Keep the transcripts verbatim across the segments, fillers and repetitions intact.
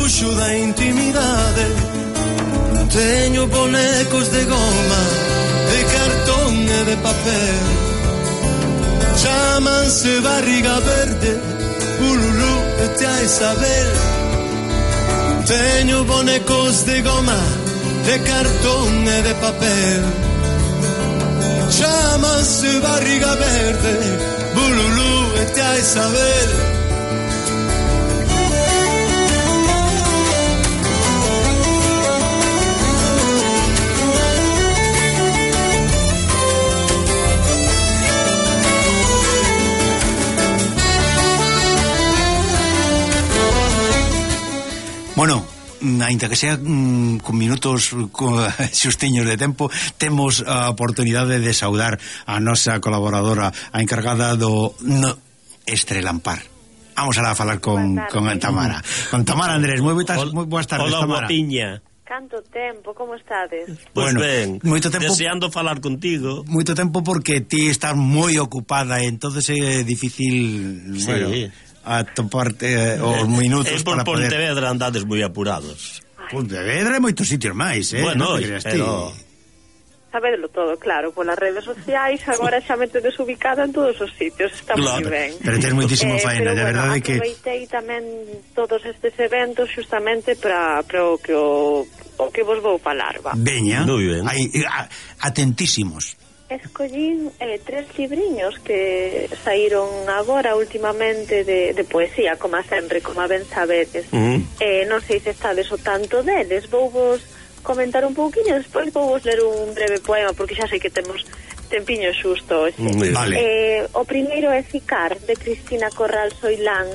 refuxo da intimidade. Teño bonecos de goma, de cartón e de papel. Chámanse Barriga Verde, Ululú e Tia Isabel. Teño bonecos de goma, de cartón e de papel. Chámanse Barriga Verde, Ululú e Tia Isabel. Bueno, ainda que sea mm, con minutos con xustiños de tempo, temos a oportunidade de saudar a nosa colaboradora, a encargada do no, Estrelampar. Vamos a falar con, con Tamara. Con Tamara Andrés, moi boas, moi boas tardes, Hola, Tamara. guapiña. Canto tempo, como estades? Pois bueno, ben, moito tempo, deseando falar contigo. Moito tempo porque ti estás moi ocupada, entonces é difícil, Sí. bueno, a toparte eh, os minutos eh, por para poder... Pontevedra andades moi apurados. Pontevedra e moitos sitios máis, eh? Bueno, non te creas pero... ti. Sabedelo todo, claro, polas redes sociais, agora xa me tedes ubicada en todos os sitios, está Claro. moi ben. Pero tens moitísimo Eh, faena, pero, de bueno, verdade que... aproveitei tamén todos estes eventos xustamente para o que o, o que vos vou falar, va. Veña, Moi ben. hai, a, atentísimos. Escollín eh, tres libriños que saíron agora últimamente de, de poesía, como sempre, como ben sabedes. Uh-huh. Eh, non sei se estades o tanto deles, vou vos comentar un pouquinho, despois vou vos ler un breve poema, porque xa sei que temos tempiño xusto hoxe. Mm, vale. Eh, o primeiro é Ficar, de Cristina Corral Soilán,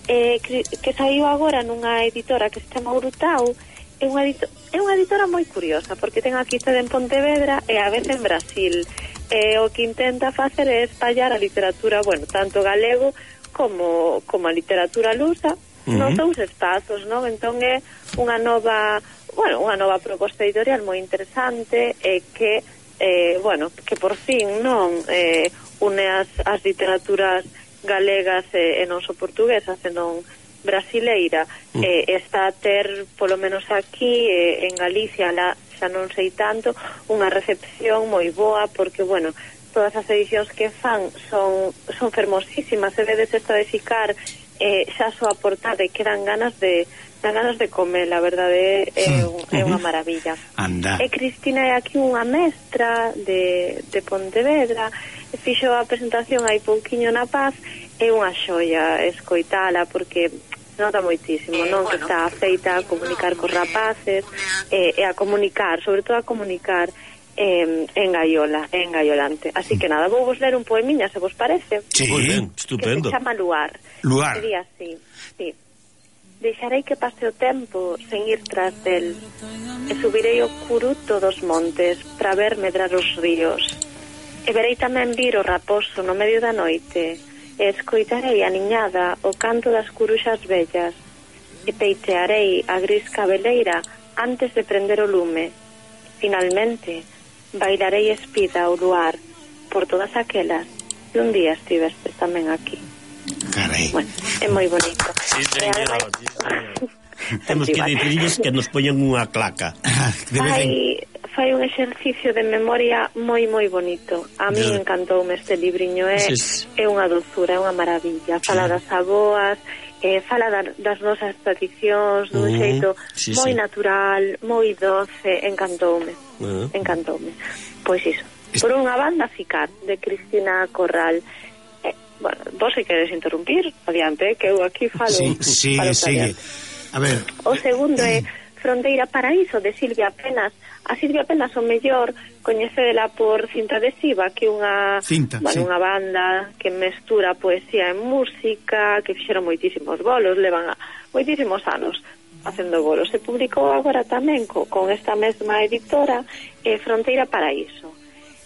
eh, que saiu agora nunha editora que se chama Urutau. É unha, edito é unha editora moi curiosa, porque ten aquí sede en Pontevedra e a vez en Brasil. E o que intenta facer é espallar a literatura, bueno, tanto galego como, como a literatura lusa, uh-huh, nos dous espazos, non? Entón é unha nova, bueno, unha nova proposta editorial moi interesante e que, eh, bueno, que por fin non eh, une as, as literaturas galegas e, e non só portuguesas, senón brasileira. Mm. eh, está a ter, polo menos aquí eh, en Galicia, la, xa non sei tanto, unha recepción moi boa, porque, bueno, todas as edicións que fan son, son fermosísimas. Se vedes esta de Ficar, eh, xa só a portada e que dan ganas de dan ganas de comer, a verdade é, é, un, é unha maravilla. Anda. E Cristina é aquí unha mestra de, de Pontevedra, fixo a presentación hai pouquiño na Paz, é unha xoia escoitala, porque nota moitísimo, non? Que está feita a comunicar cos rapaces e, e a comunicar, sobre todo a comunicar eh, en gaiola, en gaiolante. Así que nada, vou vos ler un poemiña, se vos parece. Sí. Moi ben, estupendo. Que se chama Luar. Luar. Sería así, sí. Deixarei que pase o tempo sen ir tras del, e subirei o curuto dos montes para ver medrar os ríos, e verei tamén vir o raposo no medio da noite, e escoitarei a niñada o canto das curuxas vellas, e peitearei a gris cabeleira antes de prender o lume. Finalmente, bailarei espida ao luar por todas aquelas que un día estivestes tamén aquí. Carai. Bueno, é moi bonito. Sí, señora, E ademais... sí, señora. Temos que dicirlles que nos poñen unha claca. De vez en... Fai, fai un exercicio de memoria moi moi bonito. A mí De... encantoume este libriño, é, Sí. é unha dulzura, é unha maravilla. Fala das aboas, eh, fala da, das nosas tradicións dun Uh-huh. xeito Sí, moi sí. natural, moi doce, encantoume. Uh-huh. Encantoume. Pois iso. Por unha banda, Ficar, de Cristina Corral. Eh, bueno, vos se queres interrumpir, adiante, que eu aquí falo. Sí, sigue, falo sigue. A ver. O segundo é Fronteira Paraíso, de Silvia Penas. A Silvia Penas o mellor coñecedela por Cinta Adhesiva, que é unha, Cinta, bueno, sí. unha banda que mestura poesía e música, que fixeron moitísimos bolos, levan a, moitísimos anos facendo bolos. Se publicou agora tamén co, con esta mesma editora, eh, Fronteira Paraíso.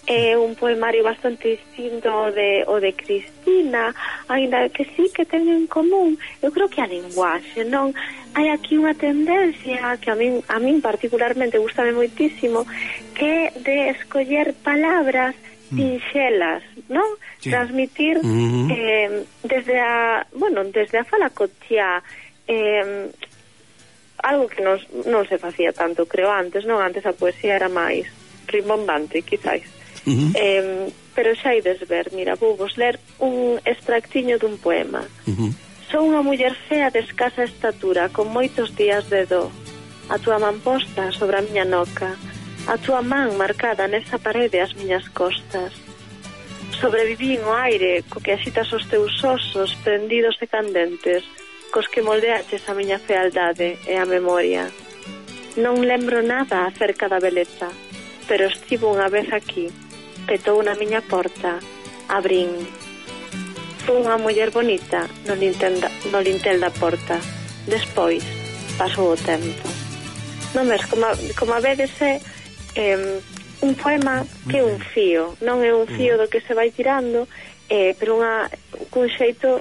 É un poemario bastante distinto o de, o de Cristina, ainda que sí que ten en común, eu creo que a linguaxe, non? Hai aquí unha tendencia que a min, a min particularmente gustame moitísimo, que é de escoller palabras sinxelas, non? Sí. Transmitir Uh-huh. eh, desde a, bueno, desde a fala cotiá, eh, algo que nos, non se facía tanto, creo, antes, non? Antes a poesía era máis rimbombante, quizáis. Uh-huh. Eh, pero xa ides ver, mira, vou vos ler un extractiño dun poema. Uh-huh. Son unha muller fea de escasa estatura, con moitos días de do. A túa man posta sobre a miña noca, a túa man marcada nesa parede ás miñas costas. Sobreviví no aire co que axitas os teus osos prendidos e candentes, cos que moldeaches a miña fealdade e a memoria. Non lembro nada acerca da beleza, pero estivo unha vez aquí, petou na miña porta, abrín. Fui unha muller bonita no lintel da, no lintel da porta. Despois pasou o tempo. Non ves, como, como a vedes é eh, un poema que é un fío, non é un fío do que se vai tirando, eh, pero unha, cun xeito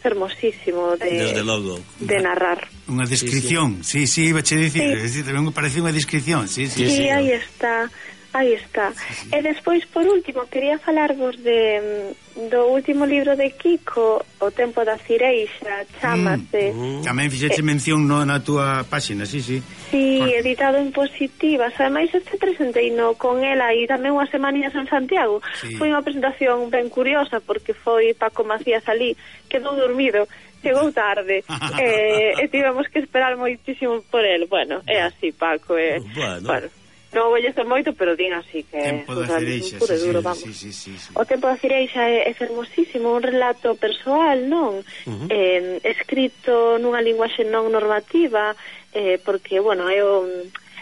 hermosísimo de, de narrar. Unha descripción, sí, sí, iba a dicir, sí. Tamén me parece unha descripción, sí, sí. Sí, sí, aí está. Aí está. Sí, sí. E despois, por último, quería falarvos de do último libro de Kiko, O tempo da cireixa, chámase. Mm, mm. Tamén fixeche eh, mención no, na túa páxina, sí, sí. Sí, por... editado en Positivas. Ademais, este presentei no con ela e tamén unhas semaninhas en Santiago. Sí. Foi unha presentación ben curiosa porque foi Paco Macías ali, quedou dormido, chegou tarde eh, e tivemos que esperar moitísimo por el. Bueno, é así, Paco. Eh, bueno... bueno non vou llesto moito, pero din así que tempo da cireixa, sí, duro, sí, sí, sí, sí. O tempo da cireixa é, é fermosísimo, un relato persoal, non? Uh-huh. Eh, escrito nunha linguaxe non normativa, eh, porque, bueno, é o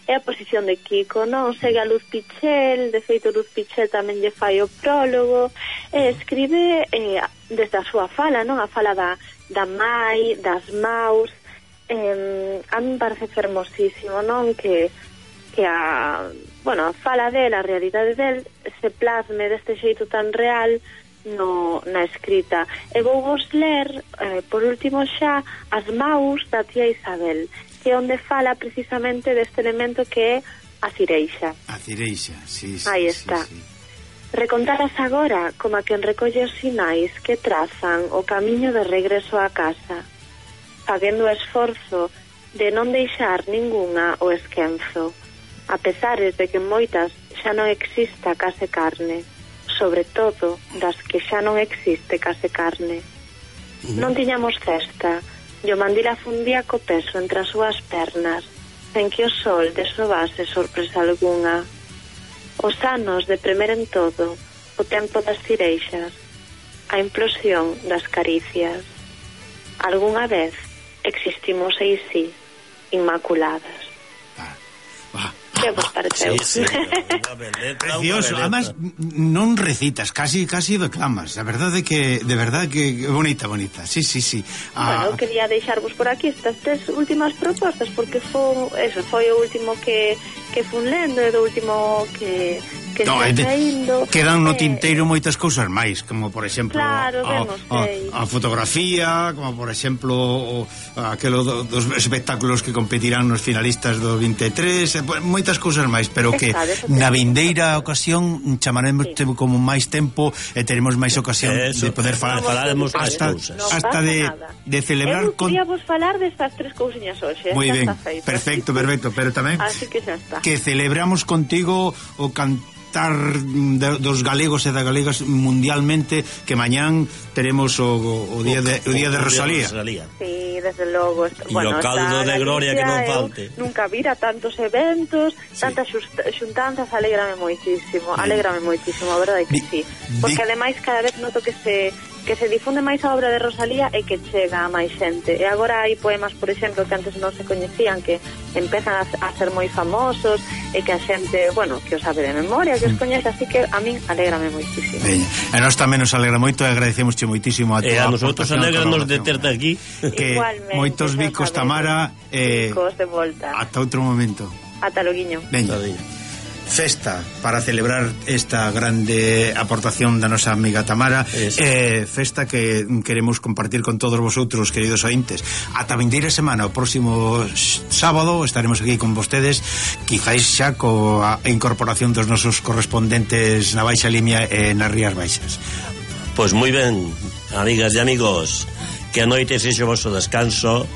é a posición de Kiko, non? Segue a Luz Pichel, de feito Luz Pichel tamén lle fai o prólogo, e escribe eh, desde a súa fala, non? A fala da, da mai, das maus, eh, a mí me parece fermosísimo, non? Que que a, bueno, a fala del, a realidade del se plasme deste xeito tan real no, na escrita. E vou vos ler, eh, por último xa, As maus da tía Isabel, que é onde fala precisamente deste elemento que é a cireixa. A cireixa, sí, sí. Aí está. Sí, sí. Recontaras agora como a quen recolle os sinais que trazan o camiño de regreso á casa, facendo o esforzo de non deixar ningunha o esquenzo, a pesares de que moitas xa non exista case carne, sobre todo das que xa non existe case carne. Uh-huh. Non tiñamos cesta, e o mandil afundía co peso entre as súas pernas, sen que o sol desobase sorpresa algunha. Os anos de premer en todo, o tempo das cireixas, a implosión das caricias. Algúnha vez existimos aí sí, inmaculadas. Ah, ah. Que vos pareceu? Sí, sí, precioso, además non recitas, casi casi declamas. A verdade que de verdade que bonita, bonita. Sí, sí, sí. Ah, bueno, quería deixarvos por aquí estas tres últimas propostas porque foi eso, foi o último que que fun lendo e do último que que no, está saindo. Quedan no tinteiro eh, moitas cousas máis, como por exemplo claro, a, a, a fotografía, como por exemplo o, aquelo do, dos espectáculos que competirán nos finalistas do vinte e tres, moitas cousas máis, pero que na vindeira ocasión chamaremos sí. como máis tempo e teremos máis ocasión eso, de poder falar, falaremos hasta, cousas. hasta de, de celebrar eu quería vos falar destas tres cousiñas hoxe. Moi ben, perfecto, perfecto, pero tamén así que xa está. Que celebramos contigo o cantar de, dos galegos e das galegas mundialmente, que mañán teremos o, o día de o día de Rosalía. Sí, desde logo. E bueno, o caldo de gloria que non falte. Nunca vira tantos eventos, sí. tantas xuntanzas, alégrame moitísimo, sí. alégrame moitísimo, a verdade que sí. Porque ademais cada vez noto que se que se difunde máis a obra de Rosalía e que chega a máis xente. E agora hai poemas, por exemplo, que antes non se coñecían, que empezan a, a ser moi famosos e que a xente, bueno, que os sabe de memoria, que os coñece, así que a min alégrame moitísimo. Veña. E nós tamén nos alegra moito e agradecemosche moitísimo a tua. E a nosotros alegranos de terte aquí. Que igualmente, moitos bicos, Tamara, eh, bicos de volta. Ata outro momento. Ata loguiño. Veña. Festa para celebrar esta grande aportación da nosa amiga Tamara, eh, festa que queremos compartir con todos vosotros, queridos ointes. Ata vindeira semana, o próximo sábado estaremos aquí con vostedes, quizáis xa coa incorporación dos nosos correspondentes na Baixa Limia e nas Rías Baixas. Pois moi ben, amigas e amigos, que a noite sexa o vosso descanso.